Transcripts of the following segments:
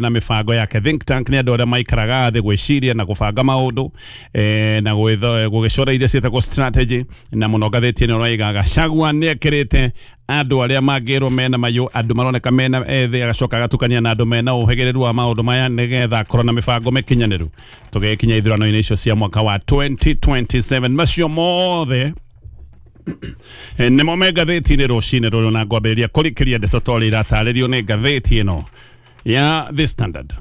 Na mĩbango yake. Think tank nĩ andũ arĩa maikaraga thĩ gwĩciria na gũbanga maũndũ na gũgĩcora iria ciĩtagwo strategy. Na mũno ngathĩti ĩno ĩraiga Gachagua nĩ ekĩrĩte andũ arĩa mangĩrwo mena mayũ, andũ maroneka mena ethĩ, agacoka agatukania na andũ mena ũhĩgĩrĩru wa maũndũ maya nĩgetha akorwo na mĩbango mĩkinyanĩru tũgĩkinya ithurano-inĩ icio cia mwaka wa 2027. Macio mothe nĩmo me ngathĩti-inĩ rũcinĩ rũrũ, na ngwambĩrĩria kũrikĩria ndeto ta ũrĩa iratarĩrio nĩ ngathĩti ĩno ya The Standard.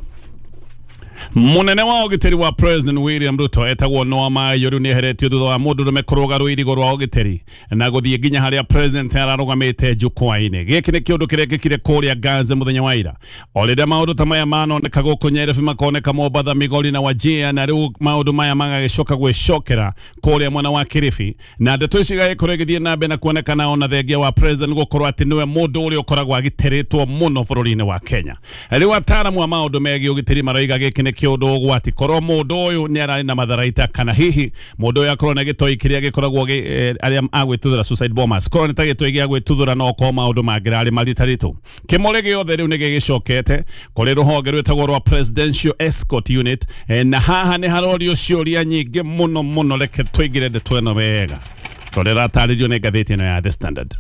Munene wa ũgitĩri wa President William Ruto etagwo Noah Maiyo rĩu nĩeheretio thutha wa mũndũrũme kũrũga rũirigo rwa ũgitĩri na gũthiĩ nginya harĩa president ararũgamĩte jukwaa-inĩ. Gĩkĩ nĩ kĩũndũ kĩrekĩkire kũrĩa Ganze mũthenya wa ira. O rĩrĩa maũndũ ta maya manoneka gũkũ Nyairobi, makoneka Mombatha, Migori na Wajir, na rĩu maũndũ maya magagĩcoka gwĩcokera kũrĩa mwena wa Kilifi, na ndeto ici igagĩkorwo igĩthiĩ na mbere na kuonekana ona thengia wa president gũkorwo atĩ nĩwe mũndũ ũrĩa ũkoragwo agitĩrĩtwo mũno bũrũri-inĩ wa Kenya. Rĩu ataaramu a maũndũ megiĩ ũgitĩri maroiga gĩkĩ nĩ kĩũndũ ũgwati, korwo mũndũ ũyũ nĩ ararĩ na matharaita, kana hihi mũndũ ũyũ akorwo na gĩtoi kĩrĩa gĩkoragwo arĩa agwĩtuthũra, suicide bombers, korwo nĩ ta gĩtoi gĩa gwĩtuthũra, no korwo maũndũ mangĩrarĩ maritaritũ. Kĩmũrĩ gĩothe rĩu nĩ gĩgĩcokete kũrĩ rũhonge rwĩtagwo rwa Presidential Escort Unit, na haha nĩ harorio ciũria nyingĩ mũno mũno. Reke tũingĩre ndeto ĩno wega tondũ ĩratarĩrio nĩ ngathĩti ĩno ya The Standard.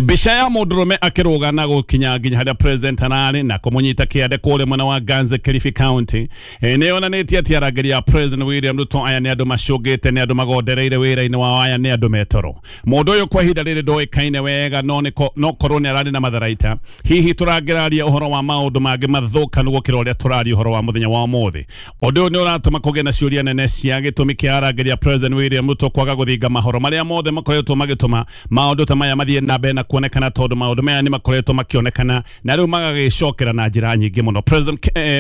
Mbica ya mũndũrũme akĩrũga na gũkinya nginya harĩa president ararĩ na kũmũnyita kĩande kũrĩa mwena wa Ganze, Kilifi County, nĩ yonanĩtie atĩ arangĩri a President William Ruto aya nĩ andũ macũngĩte, nĩ andũ magondereire wĩra-inĩ wao, aya nĩ andũ metoro. Mũndũ ũyũ kwa ihinda rĩrĩ ndoĩkaine wega, no korwo nĩ ararĩ na matharaita, hihi tũrangĩraria ũhoro wa maũndũ mangĩ mathũkanu gũkĩra ũrĩa tũraria ũhoro wa mũthenya wa ũmũthĩ. Ũndũ ũyũ nĩ ũratũma kũgĩe na ciũria nene cia gĩtũmi kĩa arangĩri a President William Ruto kwaga gũthinga mahoro marĩa mothe makoretwo magĩtũma maũndũ ta maya mathiĩ na mbere na kuonekana, tondũ maũndũ maya nĩ makoretwo makĩonekana na rĩu magagĩcokera na njĩra nyingĩ mũno.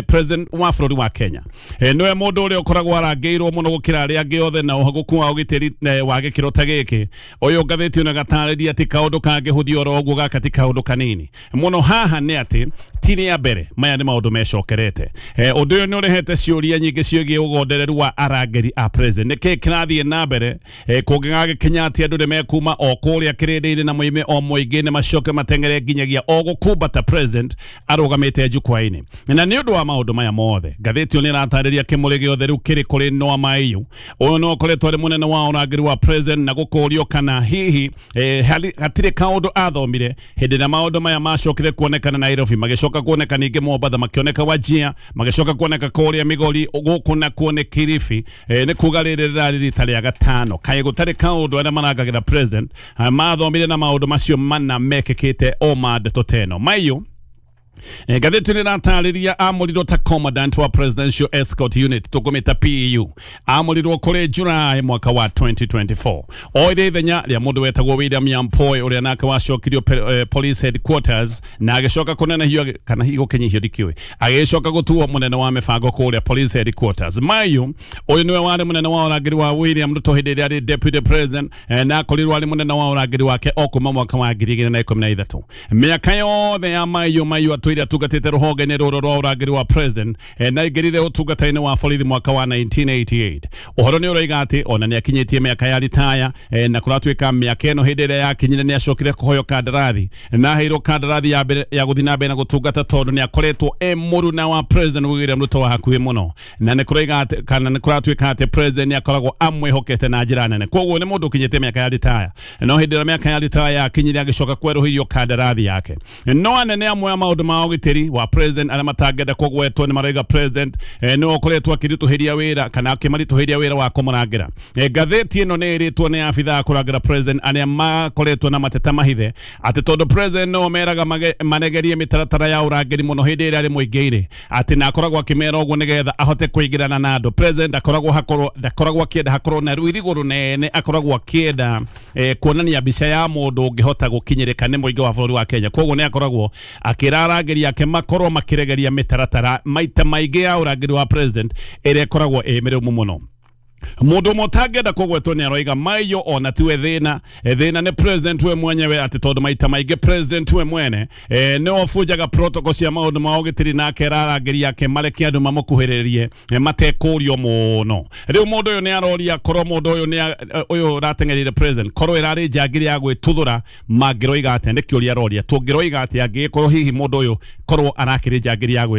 President wa bũrũri wa Kenya nĩwe mũndũ ũrĩa ũkoragwo arangĩirwo mũno gũkĩra arĩa angĩ othe na ũhagũku wa ũgitĩri wa gĩkĩro ta gĩkĩ. Ũyũ ngathĩti ĩno ĩgatarĩria atĩ kaũndũ kangĩhũthio oro ũguo, gaka ti kaũndũ kanini mũno. Haha nĩ atĩ ti rĩa mbere, maya nĩ maũndũ mecokerete. Ũndũ ũyũ nĩ ũrehete ciũria nyingĩ ciĩgiĩ ũgondereru wa arangĩri a president. Nĩkĩ kĩrathiĩ na mbere kũngĩgagĩkinya atĩ andũ nĩ mekuma o kũrĩa kĩrĩndĩ-inĩ na moime o mũingĩ-inĩ, macoke mateng'ere nginyagia o gũkumbata president arũgamĩte jukwaa-inĩ? Na nĩ ũndũ wa maũndũ maya mothe, ngathĩti ĩyo nĩ ĩratarĩria kĩmũrĩ gĩothe rĩu kĩrĩ kũrĩ Noah Maiyu. Ũyũ no ũkoretwo arĩ mũnene wa ũrangĩri wa president, na gũkũrio kana hihi hatirĩ kaũndũ athomire hĩndĩ ĩrĩa maũndũ maya macokire kuonekana Nairobi, magĩcoka kuoneka ningĩ Mombatha, makĩoneka Wajir, magĩcoka kuoneka kũrĩa Migori, gũkũ nakuo nĩ Kilifi. Nĩ kuga rĩrĩ rĩrarĩ rita rĩa gatano kaĩ gũtarĩ kaũndũ arĩa marangagĩra president mathomire na maũndũ macio mana mekĩkĩte o ma ndeto ta ĩno. Maiyu, ngathĩti nĩ ĩratarĩria amũrirwo ta commandant wa Presidential Escort Unit, tũkũmĩta PEU. Amũrirwo kũrĩ July mwaka wa 2024, oire ithenya rĩa mũndũ wetagwo William Nyampoe, ũrĩa nake wacokirio police headquarters na agĩcoka kũnenehio kana hihi gũkinyihio, ndikĩũĩ, agĩcoka gũtuo mũnene wa mĩbango kũrĩa police headquarters. Maiyu ũyũ nĩwe warĩ mũnene wa ũrangĩri wa William Ruto hĩndĩ ĩrĩa arĩ deputy president, na akorirwo arĩ mũnene wa ũrangĩri wake o kuma mwaka wa 2013. Mĩaka yothe ya Maiyu, Maiyu atũire atungatĩte rũhonge-inĩ rũrũ rwa ũrangĩri wa president, na aingĩrire ũtungata-inĩ wa borithi mwaka wa 1988. Ũhoro nĩ ũroiga atĩ ona nĩ akinyĩtie mĩaka ya ritaya, na kũratuĩka mĩaka ĩno hĩndĩ ĩrĩa yakinyire nĩ acokire kũheo kandarathi na aheirwo kandarathi ya mbere ya gũthiĩ na mbere na gũtungata, tondũ nĩ akoretwo e mũruna wa President William Ruto wa hakuhĩ mũno, na nĩ kũroiga atĩ kana nĩ kũratuĩka atĩ president nĩ akoragwo amwĩhokete na njĩra nene. Koguo nĩ mũndũ ũkinyĩte mĩaka ya ritaya, no hĩndĩ ĩrĩa mĩaka ya ritaya yakinyire agĩcoka kwerũhĩrio kandarathi yake. No anene amwe a maũndũ ma ũgitĩri wa president arĩa matangĩenda kũgwetwo nĩ marauga president nĩwe ũkoretwo akĩritũhĩria wĩra kana akĩmaritũhĩria wĩra wa kũmũrangĩra. Ngathĩti ĩno nĩ ĩrĩtwo nĩ abithaa a kũrangĩra president arĩa makoretwo na mateta mahithe atĩ tondũ president nĩo meraga manegerie mĩtaratara ya ũrangĩri mũno hĩndĩ ĩrĩa arĩ mũingĩ-inĩ, atĩ na akoragwo akĩmera ũguo nĩgetha ahote kũingĩrana na andũ. President akoragwo hakorwo ndakoragwo akĩenda hakorwo na rũirigo rũnene, akoragwo akĩenda kuonania mbica ya mũndũ ũngĩhota gũkinyĩrĩka nĩ mũingĩ wa bũrũri wa Kenya. Koguo nĩ akoragwo akĩra arangĩri ake makorwo makĩregeria mĩtaratara maita maingĩ ya ũrangĩri wa president ĩrĩa ĩkoragwo ĩ mĩrũmu mũno. Mundu ũmwe ũtangĩenda kũgwetwo nĩ aroiga maiyo ona tiwe thĩna, thĩna nĩ president we mwenyewe, atĩ tondũ maita maingĩ president we mwene nĩwe ũbunjaga protocol cia maũndũ ma ũgitĩri na akera arangĩri ake mareke andũ mamũkuhĩrĩrie matekũrio mũno. Rĩu mũndũ ũyũ nĩ aroria korwo mũndũ ũyũ nĩ ũyũ ũrateng'erire president korwo ĩrarĩ njangiri ya gwĩtuthũra mangĩroiga atĩa? Nĩ kĩũria aroria, tũngĩroiga atĩa angĩgĩkorwo hihi mũndũ ũyũ korwo arakĩrĩ njangiri ya